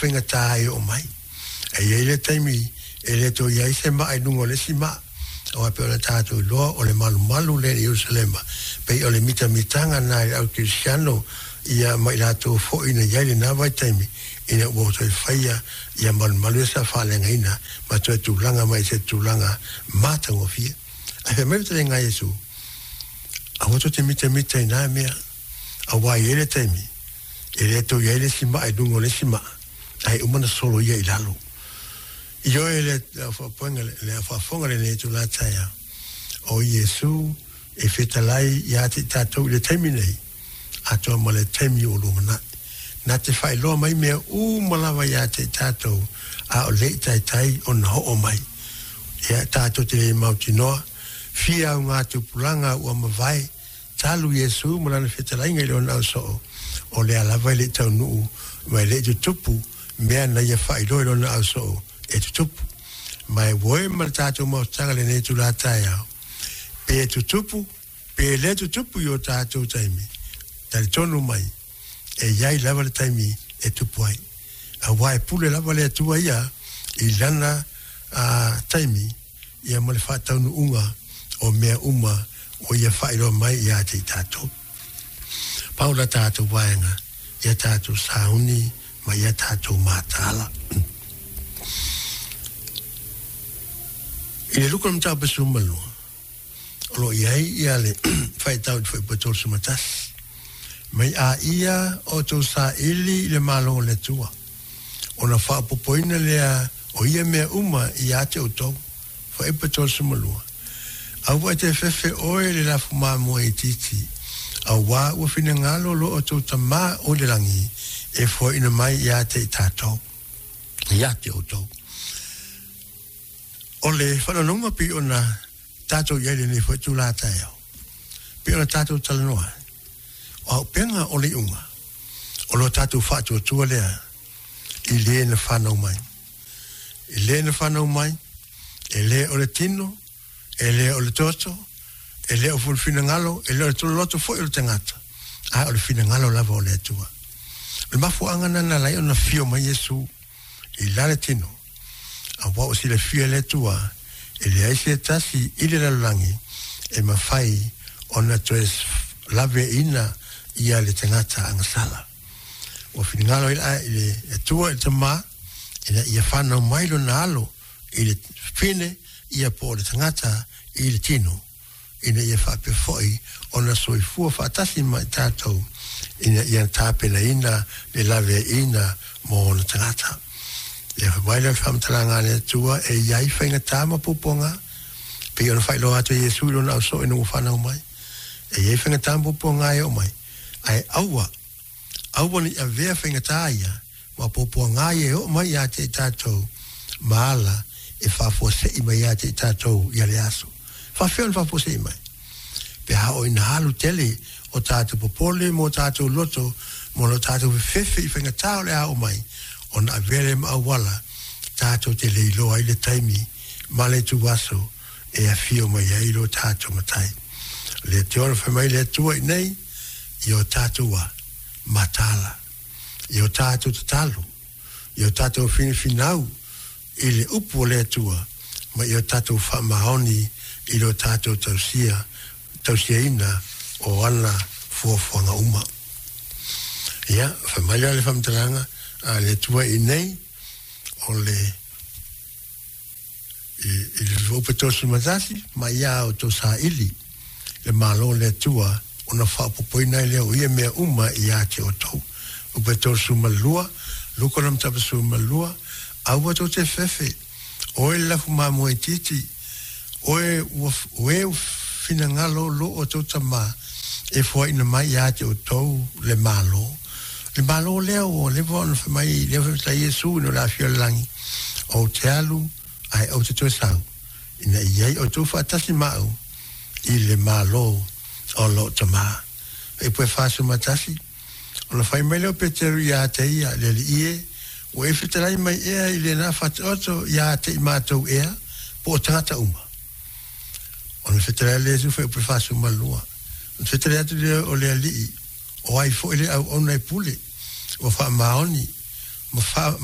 Faigata e oo mai. E i ai le taimi e le toe i ai se maa i luga o le isi maa, aua e pei ona tatou iloa o le malumalu lea i Ierusalema, pei o le mitamitaga lena i le au kerisiano ia ma i latou foi na i ai i lena vaitaimi, ina ua toe faia ia malumalu ia sa faaleagaina ma toe tulaga mai i se tulaga matagofie. Ae fai mai le fetalaiga a Iesu, Aua tou te mitamita i na mea, aua e i ai le taimi e le toe i ai le isi maa i luga o le isi maa, ae uma ona solo ia i lalo. Ioe le faafofoga le faafofoga lenei itula taeao, o Iesu e fetalai ia te i tatou i le taimi nei, atoa ma le taimi o lumanai. Na te faailoa mai mea uma lava ia te i tatou, a o le i taitai ona oo mai. Ia, tatou te le mautinoa, fia auga tupulaga ua mavae, Talu Iesu ma lana fetalaiga i lona ausoo, o lea lava e le i taunuu ma e le i tutupu mea na ia faailoa i lona ausoo e tutupu. Ma e uoe ma le tatou maututaga lenei itula taeao, pe tutupu pe le tutupu i o tatou taimi, talitonu mai, e i ai lava le taimi e tupu ai. Aua e pule lava le Atua ia i lana taimi ia ma le faataunuuga o mea uma ua ia faailoa mai ia te i tatou. Pau la tatou vaega ia tatou sauni ma ia tatou mataala. I le Luka mataupu 12, o lo o i ai ia le faitau i le Fuaiupu 31, Mai a ia outou saili i le Malo o le Atua, ona faaopoopoina lea o ia mea uma ia te outou. Fuaiupu 32, Aua e te fefe oe i le lafu mamoe itiiti, auā ua finagalo lo outou Tama o i le lagi e foaina mai ia te i tatou, ia te outou. O le faanoanoga pei ona tatou i ai lenei foi itula taeao, pei ona tatou talanoa ai, o auupega o le iuga, o lo tatou faatuatua lea i le na fanau mai. I le na fanau mai, e le o le tino, e le o le toto, e le o foi le finagalo, e le o le tololoto foi o le tagata, a o le finagalo lava o le Atua. O le mafuaaga lena na ala ai ona fio mai Iesu i la le tino, aua ua silafia e le Atua, e leai se tasi i le lalolagi e mafai ona toe laveaiina ia le tagata agasala. Ua finagalo ai le Atua i le Tama, ina ia fanau mai lona alo i le fine ia po o le tagata i le tino, ina ia faapea foi ona soifua faatasi ma i tatou, ina ia tapenaina le laveaiina mo ona tagata. Ia fai mai lea o le faamatalaga a le Atua e i ai faigata ma puapuaga, pei ona faailoa atu e Iesu i lona ausoo ina ua fanau mai. E i ai faigata ma puapuaga e oo mai, ae aua Aua ne i avea faigata ia ma puapuaga ia e oo mai ia te i tatou ma ala e faafuasei mai ia te i tatou ia le aso. Faafefea ona faafuasei mai? Pe a oo ina alu tele o tatou popole ma o tatou loto ma lo tatou fefefe i faigata o le a oo mai, ona avea lea ma auala tatou te le iloa ai le taimi ma le ituaso e afio mai ai lo tatou Matai. O lea te ona fai mai le Atua i nei, i o tatou a mataala, i o tatou tatalo, i o tatou finafinau i le upu o le Atua, ma i o tatou faamaoni i lo tatou tausia, tausiaina o ana fuafuaga uma. Ia, fai mai lea le faamatalaga a le Atua i nei, o le I le fuaiupu 31, ma ia outou saili le Malo o le Atua, ona faaopoopoina ai lea o ia mea uma ia te outou. Fuaiupu 32, Luka 22, Aua tou te fefe, oe le lafu mamoe itiiti, oe ua, oe ua finagalo lo outou Tama e foaina mai ia te outou le Malo. Le Malo lea ua leva ona fai mai, lea fai mai Iesu ina o le afio o le lagi, Ou te alu, ae ou te toe sau, ina i ai outou faatasi ma au i le Malo o lou Tama. Fuaiupu e 41, Ona fai mai lea o Peteru iā te ia, Le Alii e, ua e fetalai mai ea i lena fataoto iā te i mātou ea, po o tagata uma? Ona fetalai lea Iesu fuaiupu e 42, Ona fetalai atu lea o le Alii, O ai foi le auauna e pule, ua faamaoni? Ma